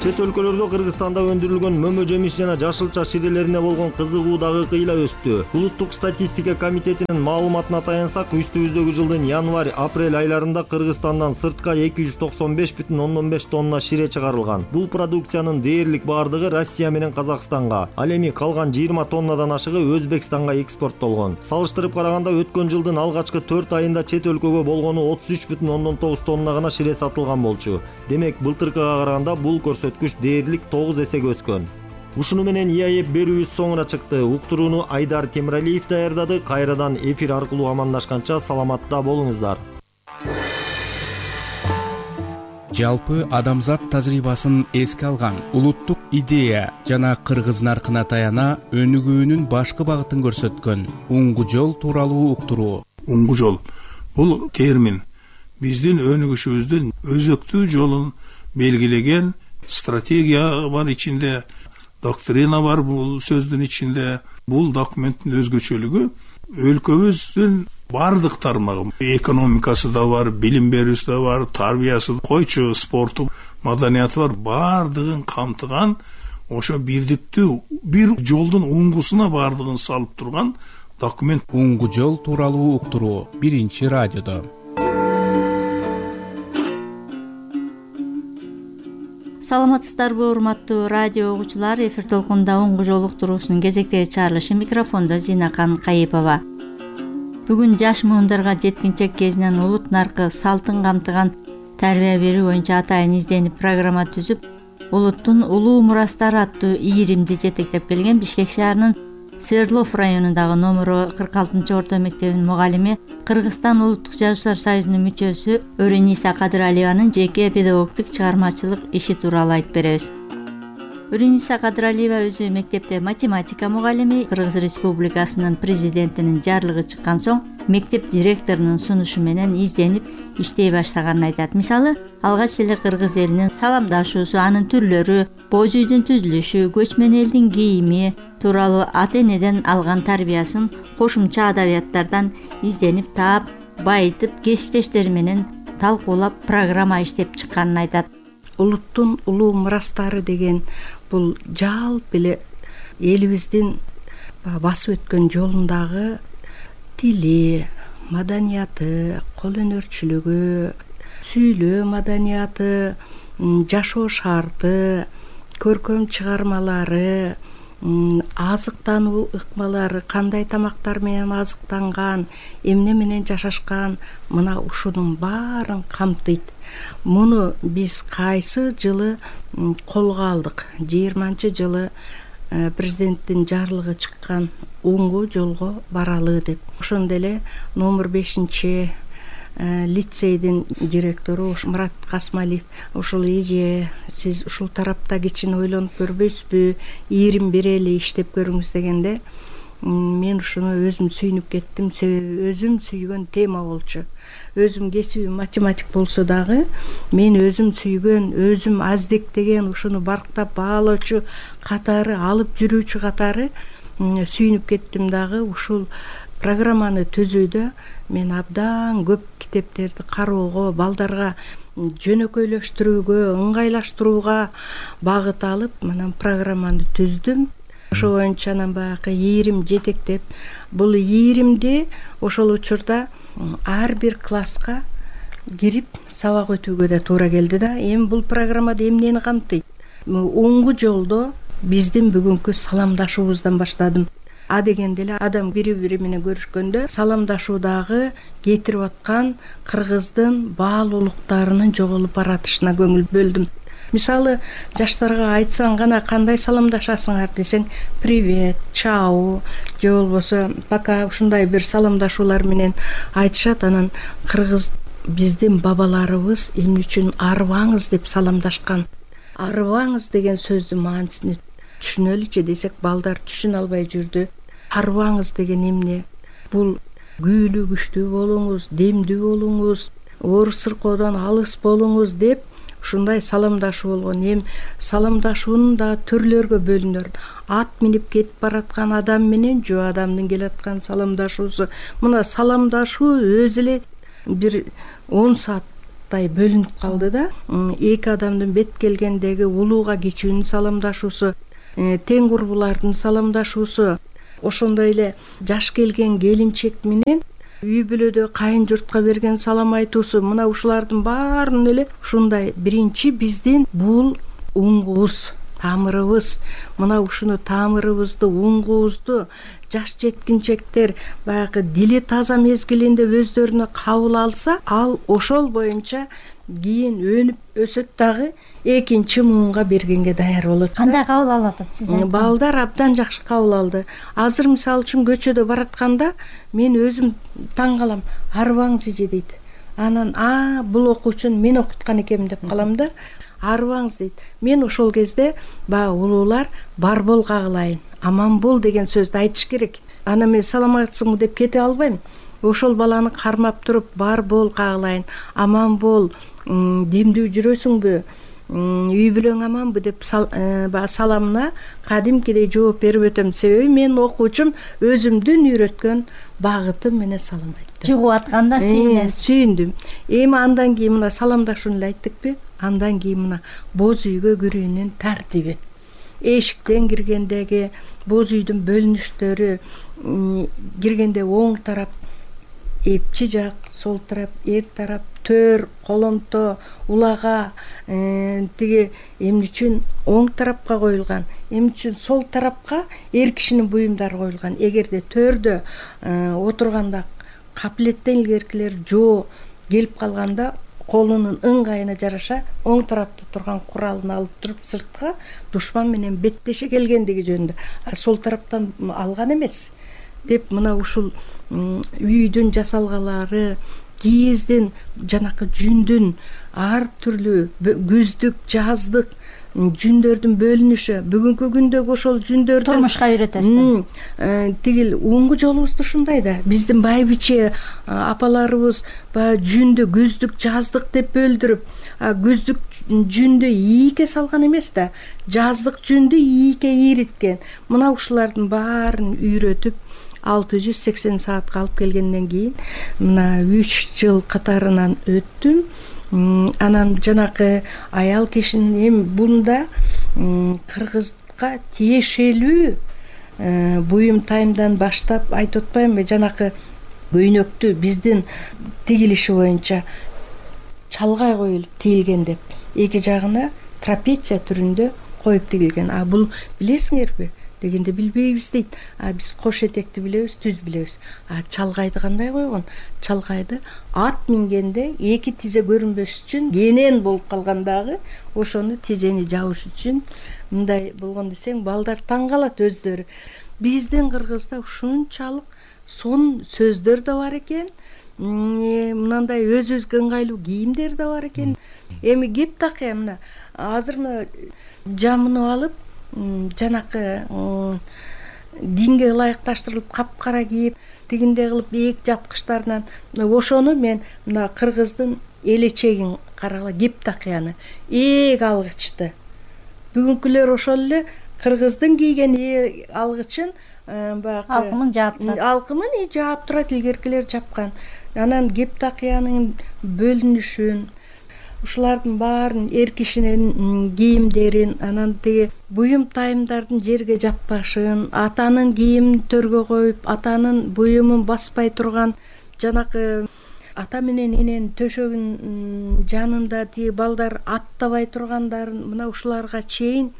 Чет өлкөлөрдө Кыргызстанда өндүрүлгөн мөмө жемиш жана жашылча ширелерине болгон кызыгуу дагы кыйла өстү. Улуттук статистика комитетинин маалыматына таянсак, үстүбүздөгү жылдын январь-апрель айларында Кыргызстандан сыртка 295,5 тонна шире чыгарылган. Бул продукциянын дээрлик бардыгы Россия менен Казакстанга, ал эми калган 20 тоннадан ашыгы Өзбекстанга экспорттолгон. Салыштырып караганда өткөн жылдын алгачкы 4 айында чет өлкөгө болгону 33,9 тонна гана шире сатылган болчу. Демек, былтыркыга караганда бул көрсөткүч дээрлик 9 эсеге өскөн. Ушуну менен ЕАЭП берүүбүз соңуна чыкты. Уктурууну Айдар Темиралиев даярдады. Кайрадан эфир аркылуу амандашканча саламатта болуңуздар. Жалпы адамзат тажрыйбасын эске алган улуттук идея жана кыргыз наркына таяна өнүгүүнүн башкы багытын көрсөткөн уңгу жол тууралуу уктуруу. Уңгу жол бул термин биздин өнүгүшүбүздүн өзөктүү жолун белгилеген стратегия бар ичинде, доктрина бар бул сөздүн ичинде. Бул документтин өзгөчөлүгү өлкөбүздүн бардык тармагы, экономикасы да бар, билим берүүсү да бар, тарбиясы, койчу спорту, маданияты бар, бардыгын камтыган, ошо бирдиктүү бир жолдун уңгусуна бардыгын салып турган документ. Уңгу жол тууралуу уктуруу биринчи радиодо. Саламатсыздарбы, урматтуу радио угуучулар? Эфир толкунда уңгу жол уктуруусунун кезектеги чыгарылышы, микрофондо Зинакан Кайыпова. Бүгүн жаш муундарга жеткинчек кезинен улут наркы салтын камтыган тарбия берүү боюнча атайын изденип программа түзүп, улуттун улуу мурастары аттуу ийримди жетектеп келген Бишкек шаарынын Свердлов районундагы номеру 46-орто мектебинин мугалими, Кыргызстан улуттук жазуучулар союзунун мүчөсү Өрениса Кадыралиеванын жеке педагогдук чыгармачылык иши тууралуу айтып беребиз. Өрениса Кадыралиева өзү мектепте математика мугалими, Кыргыз Республикасынын президентинин жарлыгы чыккан соң мектеп директорунун сунушу менен изденип иштей баштаганын айтат. Мисалы, алгач эле кыргыз элинин саламдашуусу, анын түрлөрү, боз үйдүн түзүлүшү, көчмөн элдин кийими тууралуу ата-энеден алган тарбиясын кошумча адабияттардан изденип таап, байытып, кесиптештери менен талкуулап программа иштеп чыкканын айтат. Улуттун улуу мурастары деген бул жалпы эле элибиздин басып өткөн жолундагы тили, маданияты, кол өнөрчүлүгү, сүйлөө маданияты, жашоо шарты, көркөм чыгармалары, азыктануу ыкмалары, кандай тамактар менен азыктанган, эмне менен жашашкан, мына ушунун баарын камтыйт. Муну биз кайсы жылы колго алдык? 20-жылы президенттин жарлыгы чыккан уңгу жолго баралы деп. Ошондо эле номер 5 лицейдин директору Мурат Касмалиев ушул эже, сиз ушул тарапта кичине ойлонуп көрбөйсүзбү, ийрим берели иштеп көрүңүз дегенде, мен ушуну өзүм сүйүнүп кеттим. Себеби өзүм сүйгөн тема болчу. Өзүм кесибим математик болсо дагы, мен өзүм сүйгөн, өзүм аздектеген, ушуну барктап баалоочу катары, алып жүрүүчү катары сүйүнүп кеттим дагы. Ушул программаны түзүүдө мен абдан көп китептерди кароого, балдарга жөнөкөйлөштүрүүгө, ыңгайлаштырууга багыт алып, мына программаны түздүм. Ошо боюнча анан баягы ийрим жетектеп, бул ийримди ошол учурда ар бир класска кирип сабак өтүүгө да туура келди да. Эми бул программада эмнени камтыйт? Уңгу жолдо биздин бүгүнкү саламдашуубуздан баштадым. А дегенде эле адам бири-бири менен көрүшкөндө саламдашуудагы кетирип аткан кыргыздын баалуулуктарынын жоголуп баратышына көңүл бөлдүм. Мисалы, жаштарга айтсаң гана кандай саламдашасыңар десең, привет, чау, же болбосо пока, ушундай бир саламдашуулар менен айтышат. Анан кыргыз биздин бабаларыбыз эмне үчүн арыбаңыз деп саламдашкан. арыбаңыз деген сөздүн маанисин түшүнөлүчү десек балдар түшүнө албай жүрдү. Арыбаңыз деген эмне? Бул күүлүү күчтүү болуңуз, демдүү болуңуз, оор сыркоодон алыс болуңуз деп ушундай саламдашуу болгон. Эми саламдашуунун да түрлөргө бөлүнөр. Ат минип кетип бараткан адам менен жөө адамдын келаткан саламдашуусу. Мына саламдашуу өзү эле бир 10 сааттай бөлүнүп калды да. Эки адамдын бет келгендеги улууга кичүүнүн саламдашуусу, тең курбулардын саламдашуусу, ошондой эле жаш келген келинчек менен үй бүлөдө кайын журтка берген салам айтуусу. Мына ушулардын баарынын эле ушундай биринчи биздин бул уңгубуз, тамырыбыз. Мына ушуну тамырыбызды, уңгубузду жаш жеткинчектер баягы дили таза мезгилинде өздөрүнө кабыл алса, ал ошол боюнча кийин өнүп өсөт дагы экинчи муунга бергенге даяр болот. Кандай кабыл алып атат сиз? Балдар абдан жакшы кабыл алды. Азыр мисалы үчүн көчөдө баратканда мен өзүм таң калам. Арыбаңыз эже дейт. Анан бул окуучуну мен окуткан экенмин деп калам да. Арыбаңыз дейт. Мен ошол кезде баягы улуулар бар бол кагылайын, аман бол деген сөздү айтыш керек. Анан мен саламатсыңбы деп кете албайм. Ошол баланы кармап туруп бар бол кагылайын, аман бол, демдүү жүрөсүңбү, үй бүлөң аманбы деп саламына кадимкидей жооп берип өтөм. Себеби мен окуучум өзүмдүн үйрөткөн багытым менен салам айтты. Жугуп атканда сүйүндүм. Эми андан кийин мына саламдашууну эле айттыкпы? Андан кийин мына боз үйгө кирүүнүн тартиби. Эшиктен киргендеги боз үйдүн бөлүнүштөрү, киргенде оң тарап эпчи жак, сол тарап эр тарап, төр, коломто, улага, тиги эмне үчүн оң тарапка коюлган, эмне үчүн сол тарапка эр кишинин буюмдары коюлган. Эгерде төрдө отурганда капилеттен илгеркилер жоо келип калганда колунун ыңгайына жараша оң тарапта турган куралын алып туруп сыртка душман менен беттеше келгендиги жөнүндө, сол тараптан алган эмес деп мына ушул үйдүн жасалгалары, кийиздин, жанакы жүндүн ар түрлүү күздүк, жаздык жүндөрдүн бөлүнүшү. Бүгүнкү күндөгү ошол жүндөрдү турмушка үйрөтөсүз. Тигил уңгу жолубуз ушундай да. Биздин байбиче апаларыбыз баягы жүндү күздүк, жаздык деп бөлдүрүп, күздүк жүндү ийке салган эмес да, жаздык жүндү ийке ийриткен. Мына ушулардын баарын үйрөтүп 680 саатка алып келгенден кийин мына 3 жыл катарынан өттүм. Анан жанакы аял кишинин эми бунда кыргызга тиешелүү буюм тайымдан баштап айтып атпаймынбы, жанакы көйнөктү биздин тигилиши боюнча чалгай коюлуп тигилген деп, эки жагына трапеция түрүндө коюп тигилген. Бул билесиңерби дегенде билбейбиз дейт. Биз кош этекти билебиз, түз билебиз. Чалгайды кандай койгон? Чалгайды ат мингенде эки тизе көрүнбөс үчүн кенен болуп калгандагы ошону тизени жабыш үчүн мындай болгон десең, балдар таң калат өздөрү. Биздин кыргызда ушунчалык сонун сөздөр да бар экен. Мындай өзүбүзгө ыңгайлуу кийимдер да бар экен. Эми кеп такыя мына азыр мына жамынып алып жанакы динге ылайыкташтырылып капкара кийип, тигиндей кылып эк жапкычтарынан ошону мен мына кыргыздын элечегин карагыла, кеп такыяны эк алгычты. Бүгүнкүлөр ошол эле кыргыздын кийген алгычын баягы алкымын жаап турат. Алкымын жаап турат, илгеркилер жапкан. Анан кеп такыянын бөлүнүшүн, ушулардын баарын, эр кишинин кийимдерин, анан тиги буюм тайымдардын жерге жатпашын, атанын кийимин төргө коюп, атанын буюмун баспай турган, жанакы ата менен эненин төшөгүнүн жанында тиги балдар аттабай тургандарын, мына ушуларга чейин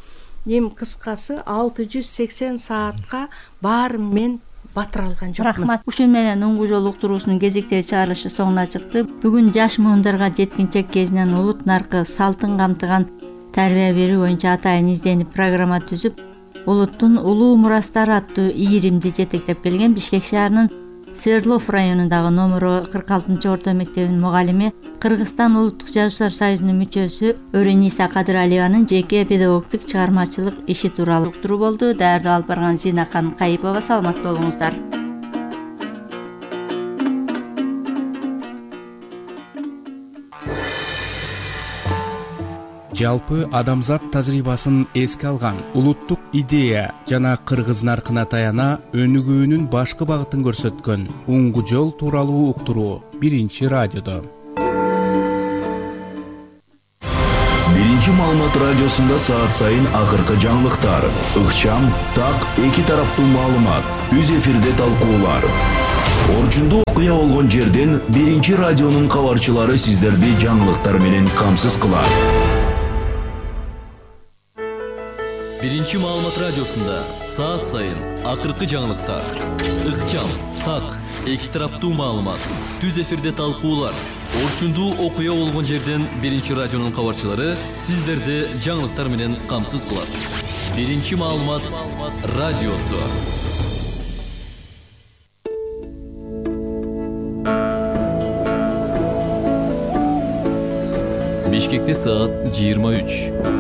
эми кыскасы 680 саатка баарын мен батыра алган жокмун. Рахмат. Ушун менен уңгу жол уктуруусунун кезектеги чыгарылышы соңуна чыкты. Бүгүн жаш муундарга жеткинчек кезинен улут наркы салтын камтыган тарбия берүү боюнча атайын изденип программа түзүп, улуттун улуу мурастары аттуу ийримди жетектеп келген Бишкек шаарынын Свердлов районундагы номеру 46 орто мектебинин мугалими, Кыргызстан Улуттук Жазуучулар союзунун мүчөсү Өрениса Кадыралиеванын жеке педагогдук чыгармачылык иши тууралуу уктуруу болду. Даярдоо алып барган Зинакан Кайыпова. Саламат болуңуздар. Жалпы адамзат тажрыйбасын эске алган улуттук идея жана кыргыз наркына таяна өнүгүүнүн башкы багытын көрсөткөн уңгу жол тууралуу уктуруу биринчи радиодо. Биринчи маалымат радиосунда саат сайын акыркы жаңылыктар, ыкчам, так, эки тараптуу маалымат, түз эфирде талкуулар. Орчундуу окуя болгон жерден биринчи радионун кабарчылары сиздерди жаңылыктар менен камсыз кылат. Биринчи маалымат радиосунда саат сайын акыркы жаңылыктар, ыкчам, так, эки тараптуу маалымат, түз эфирде талкуулар. Орчундуу окуя болгон жерден биринчи радионун кабарчылары сиздерди жаңылыктар менен камсыз кылат. Биринчи маалымат радиосу. Бишкекте саат 23.